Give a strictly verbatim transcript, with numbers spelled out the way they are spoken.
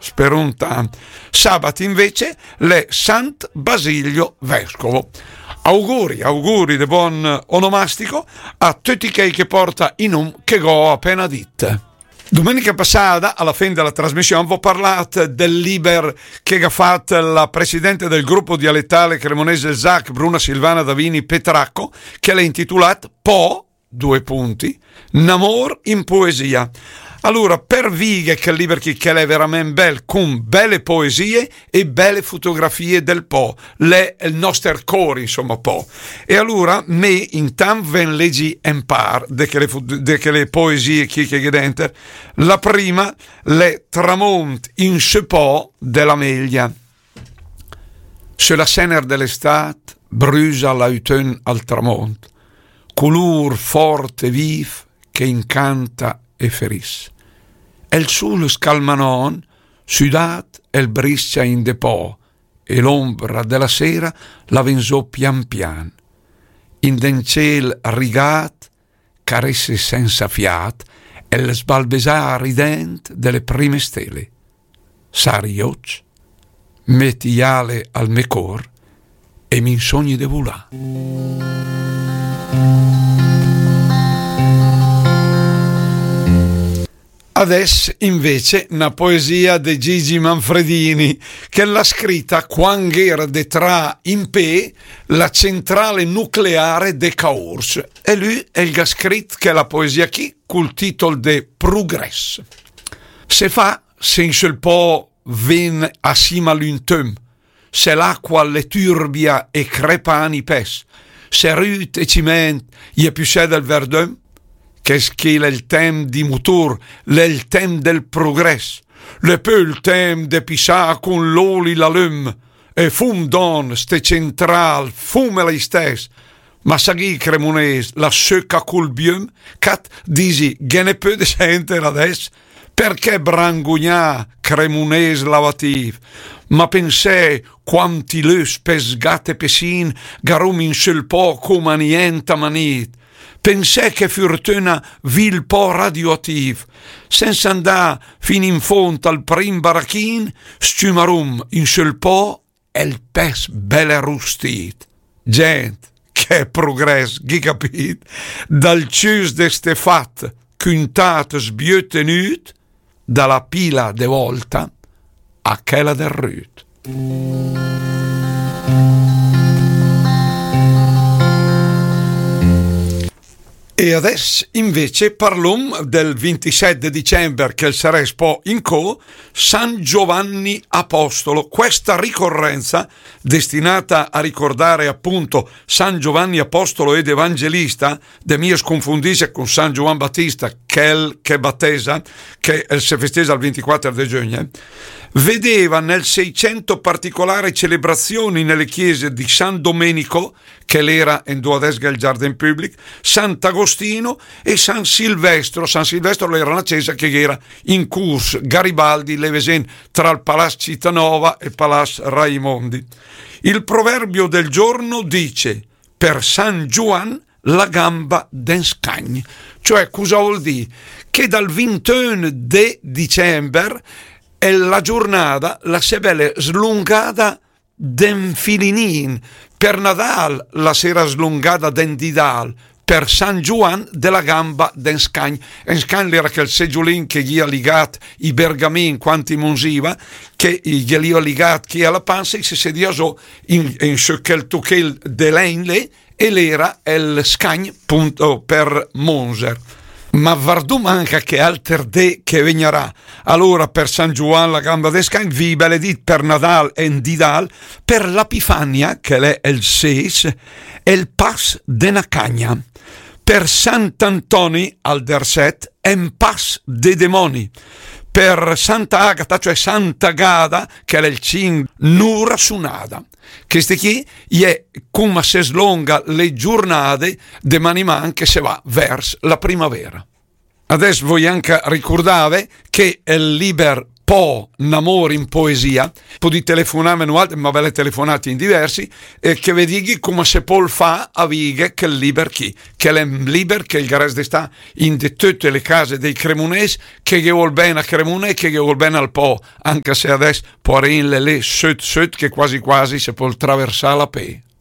Sperùm tant. Sabat invece l'è Sant Basilio Vescovo. Auguri, auguri de bon onomastico a töcc chèi che porta i num che gh'ó apena dit. Domenica passada, a la fin de la trasmission, v'ó parlat del liber che gh'à fat la presidente del gruppo dialettale cremonese ZAC, Bruna Silvana Davini Petracco, che l'è intitolat Pò, due punti, N'amor in poesia. Alura, per vìghe chèl liber chì, che l'è verament bel, cun bèle poesie e bèle fotografie del Pò, l'è el noster cór, insoma, Pò. E alura, mé intant ve 'n legi en par de chèle fo-, de chèle poesie chì che gh'è denter. La prima, l'è Tramont in sö Pò de la Meglia. Sö la sèner de l'Estat brüsa l'Autön al tramont, culur fort e vif che incanta e ferìs. El sul scalmanòn, südat, el briscia in de Pò, e l'ombra de la sera la ven zó pian pian. In den cél rigat, caresse sensa fiat el sbalbesà rident de le prime stele. Sari i ócc, meti i ale al me cór e m'insogni de vulà. Adès invece na poesia de Gigi Manfredini, che l'à scrita quand gh'era de trà in pé la centrale nucleare de Caors. E lü el gh'à scrit chèla poesia chì cul titol de Prugrès. Se fa se in sö Pò ven a sima l'Autön, se l'acqua l'è turbia e crepan i pès, se rüt e ciment i è püssè del verdön, chèst chì l'è el temp di mutur, l'è el temp del prugrès, l'è pö el temp de pissà cun l'oli la löm, e fum don ste centràl, fum l'istès, ma saghì cremunés, la söca cul biöm, cat, disi, ghe n'è pö de sènter adès, perchè brangugnà, cremunés lavatif? Ma pensè quanti lös, pes gat e pesin, gh'arum in sö Pò coma nient a manit. Pensè che furtöna vì 'l Pò radioatif. Sensa andà fin in fónd al prim barachin, s-ciümarum in sö Pò el pès bèl rustit. Gent, che prugrès, ghì capit? Dal ciüs de Stefat, cüntat sbiö tenüt, da la pila de vòlta a chèla del rüt. E adès invece parlum del vintisèt de dicember, che 'l sarès pò incó, San Giovanni Apostolo. Questa ricorrenza, destinata a ricordare appunto San Giovanni Apostolo ed Evangelista, de mia scunfundìs cun San Giovann Battista, chèl che battesa, che, eh, se festeggia il ventiquattro de giögn, vedeva nel Seicento particolari celebrazioni nelle chiese di San Domenico, che l'era in dovadès gh'è 'l giardin püblic, Sant'Agostino e San Silvestro. San Silvestro l'era una cesa che era in curs Garibaldi, le vesen tra il Palazzo Città Nova e il Palazzo Raimondi. Il proverbio del giorno dice: per San Giovann la gamba den scagn. Cioè, cosa vuol dire? Che dal vintun de dicember, eh, la giornata la s'è bèla slungada den filinin. Per Nadal la s'era slungada den didal, per San Giovann de la gamba den scagn. En scagn l'era chèl segiulin che gh'ia ligat i bergamin quand i munziva, che i ghe l'ia ligat chì a la pansa, i se sedia zó in, in sö chèl tuchel de lègn lé, e l'era el scagn, punto, per monzer. Ma vardum anca che alter dé che vegnarà. Alura, per San Giovann la gamba de scagn, v'ì bèla dit, per Nadal en didal, per l'Epifania, che l'è el sés, el pas de na cagna. Per Sant'Antoni al dersèt, en pas de demoni. Per Santa Agata, cioè Sant'Agada, che l'è el cinch, nura sunada. Chèste chì i è coma se slonga le giurnade de man in man che se va vers la primavera. Adès voi anca ricurdave che el liber Pò, n'amor in poesia, podì telefonàm noaltri, ma ve l'è telefonàt in diversi, e che ve dighi come se pol fà a vìghe chèl liber chì, che l'è un liber che el gavès de stà in de töte le case dei cremonés, che ghe vol bèn a Cremona e che ghe vol bèn al Pò, anca se adès, poarèn, l'è lé söt söt che quasi quasi se pol traversà a pé.